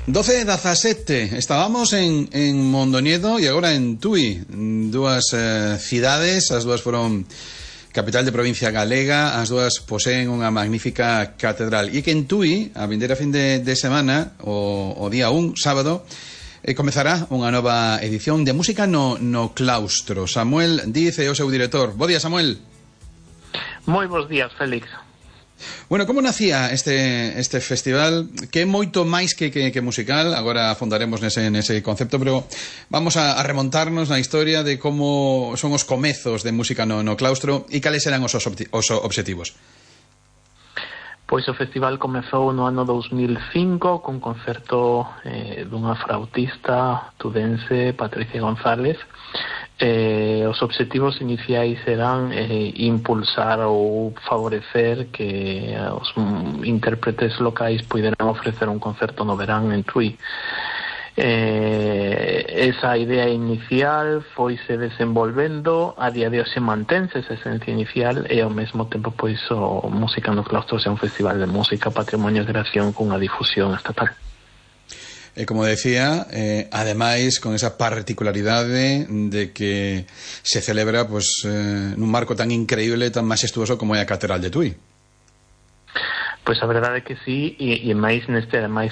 12:17, estábamos en Mondoñedo e agora en Tui, dúas cidades, as dúas foron capital de provincia galega, as dúas poseen unha magnífica catedral, e que en Tui, a vindeira fin de semana, o día 1, sábado, comezará unha nova edición de música no claustro. Samuel Díaz é o seu director. Bo día, Samuel. Moi bons días, Félix. Bueno, como nacía este festival, que é moito máis que musical? Agora afondaremos nese concepto, pero vamos a remontarnos na historia de como son os comezos de música no claustro e cales eran os obxectivos. Pois o festival comezou no ano 2005 con concerto dunha flautista tudense, Patricia González. Os obxectivos iniciais eran impulsar ou favorecer que os intérpretes locais puderan ofrecer un concerto no verán en Tui. Esa idea inicial foise desenvolvendo, a día de hoxe mantense esa esencia inicial e ao mesmo tempo pois o Música no Claustro é un festival de música patrimonio de creación cunha difusión estatal. E como decía, ademais con esa particularidade de que se celebra pues, nun marco tan increíble, tan majestuoso como é a Catedral de Tui. Pois a verdade é que sí, e máis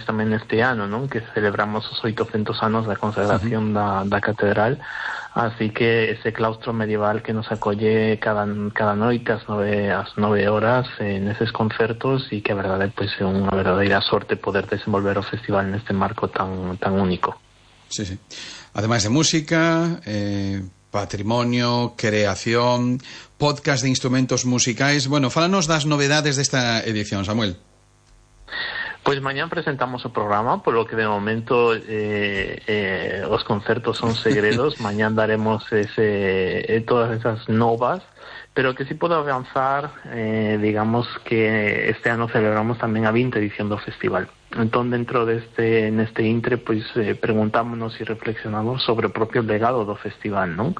tamén neste ano, non? Que celebramos os 800 anos da consagración da Catedral, así que ese claustro medieval que nos acolle cada noite ás 9 horas neses concertos, e que a verdade pois é unha verdadeira sorte poder desenvolver o festival neste marco tan único. Sí. Ademais de música, patrimonio, creación, podcast de instrumentos musicais. Bueno, fálanos das novedades desta edición, Samuel. Pois mañán presentamos o programa, polo que de momento os concertos son segredos. Mañán daremos todas esas novas, pero que si podo avanzar, digamos que este ano celebramos tamén a 20ª edición do festival. Entón, dentro neste intre, pois preguntámonos e reflexionamos sobre o propio legado do festival, non?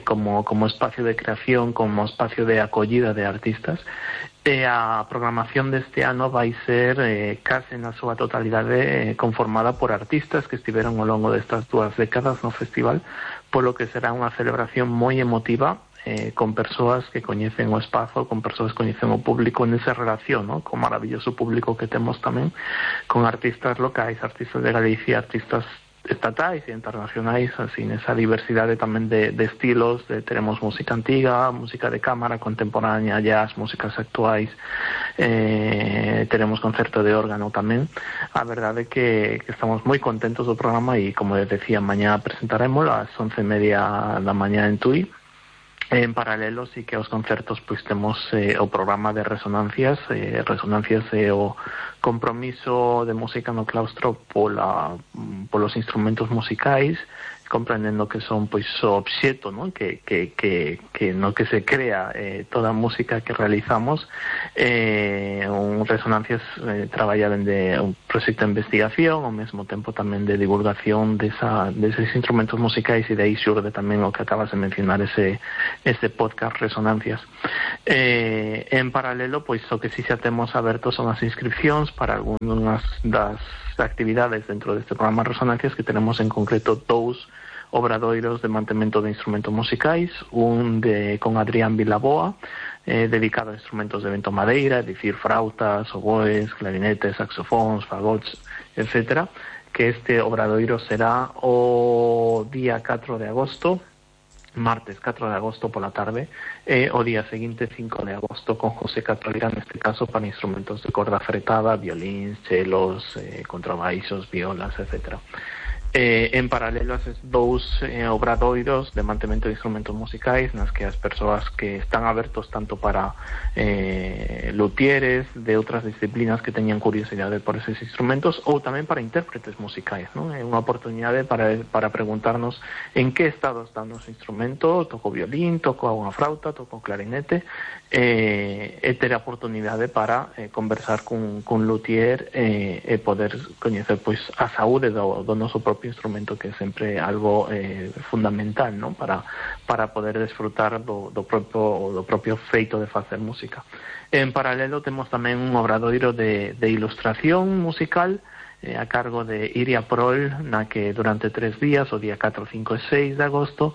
Como espacio de creación, como espacio de acollida de artistas. E a programación deste ano vai ser case na súa totalidade conformada por artistas que estiveron ao longo destas 2 décadas no festival, polo que será unha celebración moi emotiva, con persoas que coñecen o espazo, con persoas que coñecen o público nesa relación, ¿no? Con maravilloso público que temos tamén, con artistas locais, artistas de Galicia, artistas estatais e internacionais, así nesa diversidade tamén de estilos. Teremos música antiga, música de cámara, contemporánea, jazz, músicas actuais, teremos concerto de órgano tamén. A verdade é que estamos moi contentos do programa e, como les decía, mañá presentaremos ás 11:30 da mañá en Tui. En paralelo, sí que aos concertos pois temos o programa de resonancias. Resonancias é o compromiso de música no claustro polos instrumentos musicais, comprendendo que son pois o obxeto, non? Que no que se crea toda a música que realizamos. Resonancias traballa dende un proxecto de investigación, ao mesmo tempo tamén de divulgación deses instrumentos musicais, e de aí xurde tamén o que acabas de mencionar, ese podcast Resonancias. En paralelo, pois o que si xa temos aberto son as inscripcións para algunhas das actividades dentro deste programa Resonancias, que tenemos en concreto 2 obradoiros de mantemento de instrumentos musicais, un con Adrián Vilaboa, dedicado a instrumentos de vento madeira, é dicir, frautas, oboes, clarinetes, saxofóns, fagots, etc. Que este obradoiro será o día 4 de agosto, martes 4 de agosto pola tarde, e o día seguinte 5 de agosto con José Catolera, neste caso para instrumentos de corda fretada, violíns, chelos, contrabaixos, violas, etc. En paralelo a esos 2 obradoiros de mantemento de instrumentos musicais, nas que as persoas que están abertos tanto para luthieres de outras disciplinas que teñan curiosidade por esos instrumentos, ou tamén para intérpretes musicais, non? É unha oportunidade para preguntarnos en que estado está o noso instrumento. Toco violín, toco unha flauta, toco clarinete, e ter a oportunidade para conversar cun luthier e poder coñecer pois a saúde do noso propio instrumento, que é sempre algo fundamental, non? Para poder desfrutar do propio feito de facer música. En paralelo temos tamén un obradoiro de ilustración musical, a cargo de Iria Prol, na que durante 3 días, o día 4, 5 e 6 de agosto,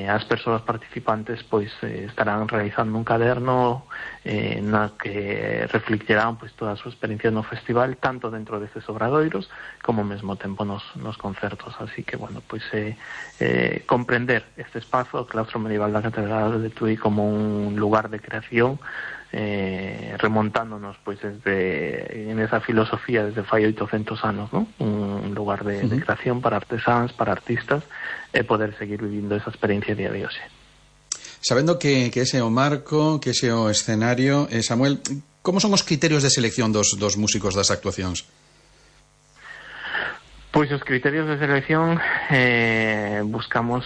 as persoas participantes pois estarán realizando un caderno na que reflectirán pois toda a súa experiencia no festival, tanto dentro destes obradoiros como ao mesmo tempo nos concertos. Así que, bueno, pois comprender este espazo, o claustro medieval da Catedral de Tui, como un lugar de creación, remontándonos pois en esa filosofía desde fai 800 anos, ¿no? Un lugar de creación para artesáns, para artistas, e poder seguir vivindo esa experiencia día de hoxe. Sabendo que ese é o marco, que ese é o escenario, Samuel, como son os criterios de selección dos músicos das actuacións? Pois os criterios de selección buscamos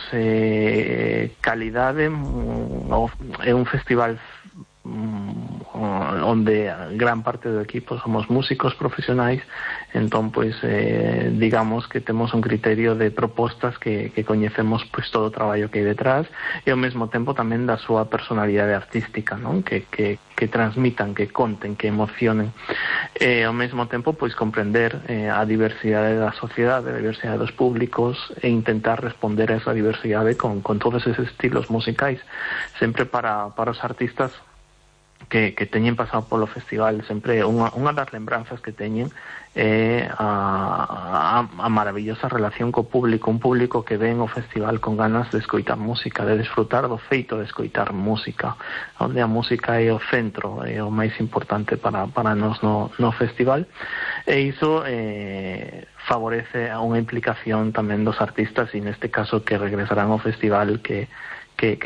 calidade. É un festival onde gran parte do equipo somos músicos profesionais, entón pois digamos que temos un criterio de propostas que coñecemos pois todo o traballo que hai detrás, e ao mesmo tempo tamén da súa personalidade artística, non? Que transmitan, que conten, que emocionen, e ao mesmo tempo pois comprender a diversidade da sociedade, a diversidade dos públicos, e intentar responder a esa diversidade con todos esos estilos musicais, sempre para os artistas que teñen pasado polo festival. Sempre unha das lembranzas que teñen é a maravillosa relación co público, un público que ven o festival con ganas de escoitar música, de desfrutar do feito de escoitar música, onde a música é o centro, é o máis importante para nós no festival, e iso favorece a unha implicación tamén dos artistas, e neste caso que regresarán ao festival, que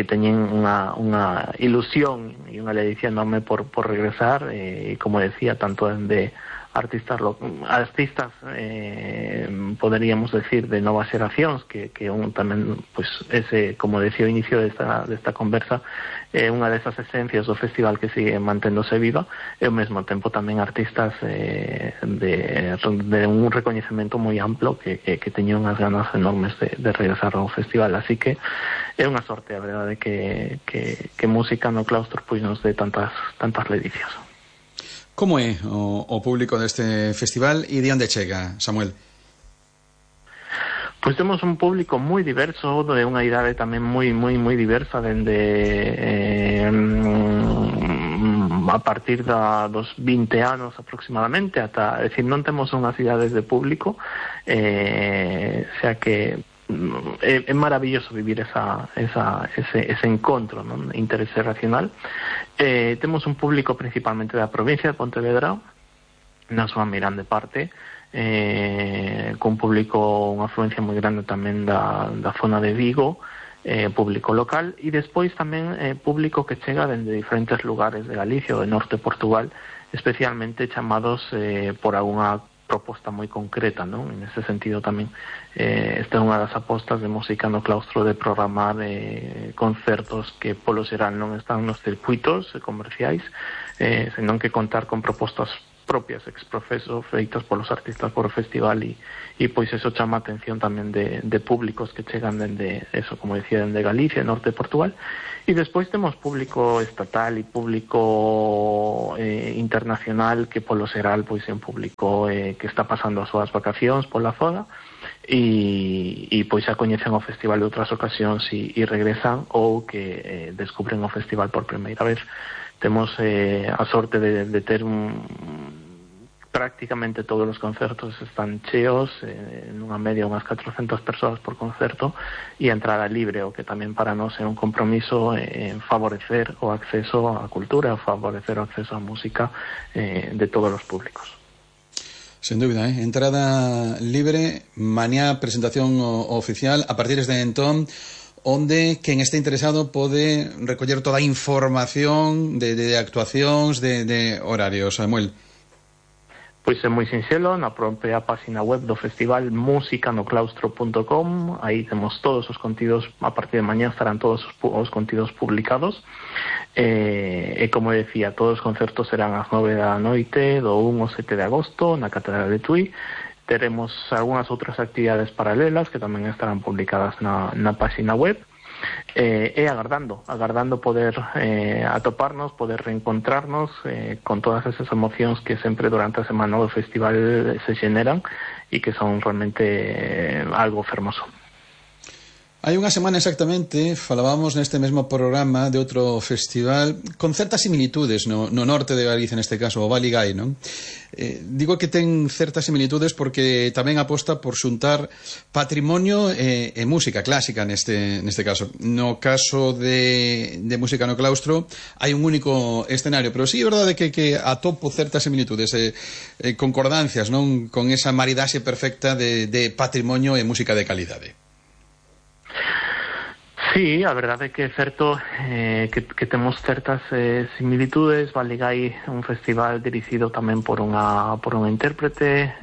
teñen unha ilusión e unha ledicia enorme por regresar, e como decía, tanto de artistas poderíamos decir de novas xeracións, que tamén, pois, ese, como decía ao inicio desta conversa, é unha desas esencias do festival que sigue manténdose viva, e ao mesmo tempo tamén artistas de un recoñecemento moi amplo que teñen unhas ganas enormes de regresar ao festival. Así que é unha sorte, a verdade, que música no claustro pois nos dé tantas ledicias. Como é o público deste festival e de onde chega, Samuel? Pois temos un público moi diverso, de unha idade tamén moi diversa, dende a partir dos 20 anos aproximadamente, ata, é dicir, non temos unhas idades de público, xa que é maravilloso vivir ese encontro, non? Interxeracional. Temos un público principalmente da provincia de Pontevedra, na súa grande parte, con público, unha afluencia moi grande tamén da zona de Vigo, público local, e despois tamén público que chega dende diferentes lugares de Galicia ou de norte de Portugal, especialmente chamados por algunha proposta moi concreta, non? En ese sentido tamén esta é unha das apostas de música no claustro, de programar concertos que polo xeral non están nos circuitos comerciais, senón que contar con propostas propias ex profeso feitas polos artistas por o festival, e pois eso chama a atención tamén de públicos que chegan dende, eso, como decía, dende Galicia, norte de Portugal. E despois temos público estatal e público internacional, que polo xeral pois é un público que está pasando as súas vacacións pola zona, e pois xa coñecen o festival de outras ocasións e regresan, ou que descubren o festival por primeira vez. Temos a sorte de ter prácticamente todos os concertos están cheos, nunha media unhas 400 persoas por concerto, e a entrada libre, o que tamén para nós é un compromiso en favorecer o acceso á cultura, favorecer o acceso á música de todos os públicos. Sen dúbida, entrada libre, mañá presentación oficial, a partir de entón, onde quen este interesado pode recoller toda a información de actuacións, de horarios, Samuel. Pois é moi sinxelo, na propia página web do festival, musicanoclaustro.com, aí temos todos os contidos, a partir de mañá estarán todos os contidos publicados, e como decía, todos os concertos serán ás 9 da noite, do 1 ao 7 de agosto, na Catedral de Tui. Teremos algunhas outras actividades paralelas que tamén estarán publicadas na página web. e agardando poder atoparnos, poder reencontrarnos con todas esas emocións que sempre durante a semana do festival se xeneran e que son realmente algo fermoso. Hai unha semana exactamente falábamos neste mesmo programa de outro festival con certas similitudes no norte de Galicia, neste caso o Baligái, non? Digo que ten certas similitudes porque tamén aposta por xuntar patrimonio e música clásica neste caso. No caso de música no claustro hai un único escenario, pero sí é verdade que atopo certas similitudes concordancias, non? Con esa maridaxe perfecta de patrimonio e música de calidade. Sí, a verdade é que é certo que temos certas similitudes. Baligái é un festival dirixido tamén por unha intérprete,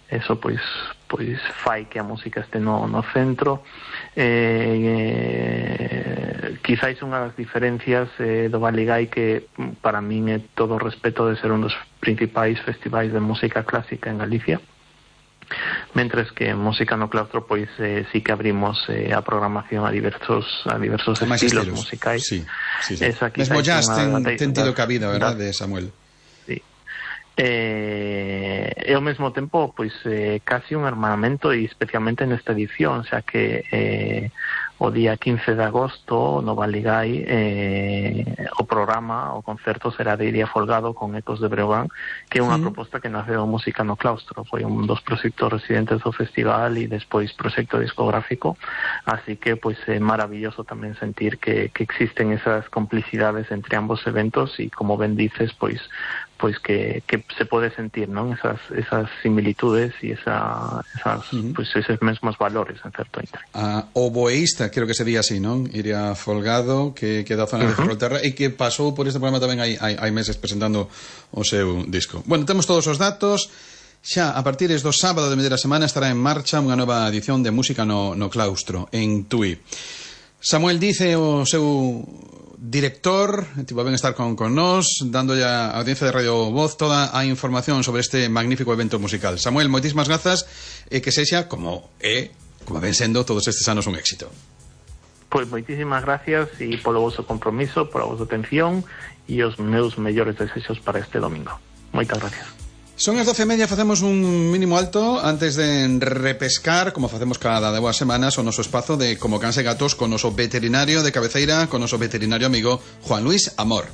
eso pois fai que a música este no centro. Quizáis unha das diferencias do Baligái que para min é todo o respeto de ser un dos principais festivais de música clásica en Galicia, mentres que en música no claustro pois sí que abrimos a programación a diversos estilos musicais. Sí. Mesmo jazz ten tido cabida, verdade, Samuel? Sí. E ao mesmo tempo pois casi un hermanamento, e especialmente nesta edición, xa que o día 15 de agosto no Baligái o concerto será de Iria Folgado con Ecos de Breogán, que é unha proposta que naceu música no claustro, foi un dos proxectos residentes do festival e despois proxecto discográfico, así que pois é maravilloso tamén sentir que existen esas complicidades entre ambos eventos e, como ben dices, pois que se pode sentir, non, esas similitudes e esos mesmos valores en certo intre. O boeísta, creo que se di así, non? Iria Folgado, que da zona de Ferrolterra e que pasou por este programa tamén hai meses presentando o seu disco. Bueno, temos todos os datos. Xa a partir do sábado de media semana estará en marcha unha nova edición de música no claustro en Tui. Samuel dice o seu director, tipo ben estar con nós, dándolle a audiencia de Radio Voz toda a información sobre este magnífico evento musical. Samuel, moitísimas grazas e que sexa como ven sendo todos estes anos un éxito. Pois moitísimas gracias e polo vosso compromiso, pola vosa atención e os meus mellores desexos para este domingo. Moitas gracias. Son as 12:30, facemos un mínimo alto antes de repescar, como facemos cada 2 semanas, o noso espazo de Como Cans e Gatos con noso veterinario de cabeceira, con noso veterinario amigo Juan Luis Amor.